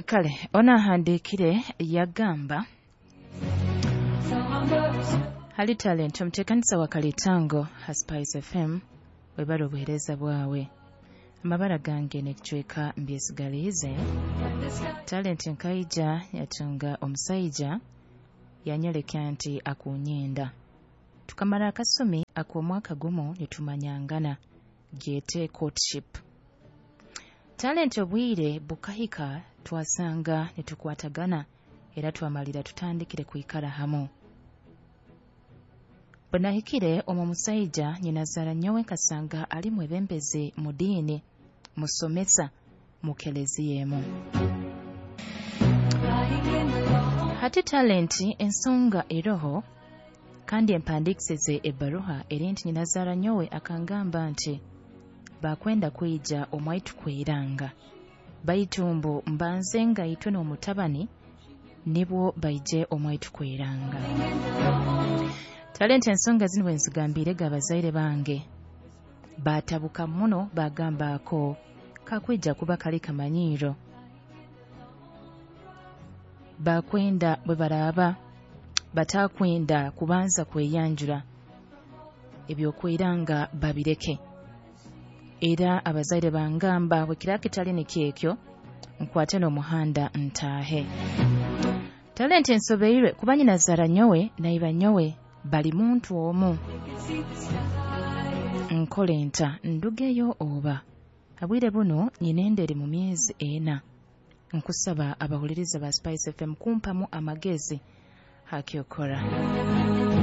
Kale ono ahandiikire yagamba, "Hali Talent, omuteekanisa wa Kalitango ha Spice FM, webale obuheereza bwawe. Amabara gange n'ekicweka mbyesigaliize. Talent, nkaija yatunga omusaija yanyoleka nti akunyenda. Tukamara akasumi ak'omwaka gumu nitumanyangana, gyete courtship. Talent, obwire bukahika twasanga nitukwatagana era twamalira tutandikire kwikara hamu. Bwe nahikire omu musaija nyinazaara nyowe, nkasanga ali mwebembezi mu diini, musomesa mu keleziya emu. Hati Talent, ensonga eroho kandi empandiikisize ebbaruha eri nti nyinazaara nyowe akangamba nti bakwenda kwija omwaitu kweranga, baitu mbu mbanze ngaitwe n'omutabani nibwo baije omwaitu kweranga. Talent, ensonga zinu bwe nzigambirege abazaire bange, baatabuka muno, bagamba ako kakwija kuba kali kamanyiiro. Bakwenda bwe baraaba batakwenda kubanza kweyanjura, ebyokweranga babireke. Era abazaire bangamba bwe kiraba kitali nikyo ekyo, nkwate n'omuhanda ntaahe. Talent, ensobeirwe kuba nyinazaara nyowe naiba nyowe bali muntu omu. Nkole nta? Ndugeyo oba? Habwire buno nyina enda eri mu myezi 4. Nkusaba abahuliriza ba Spice FM kumpamu amagezi hakyokora."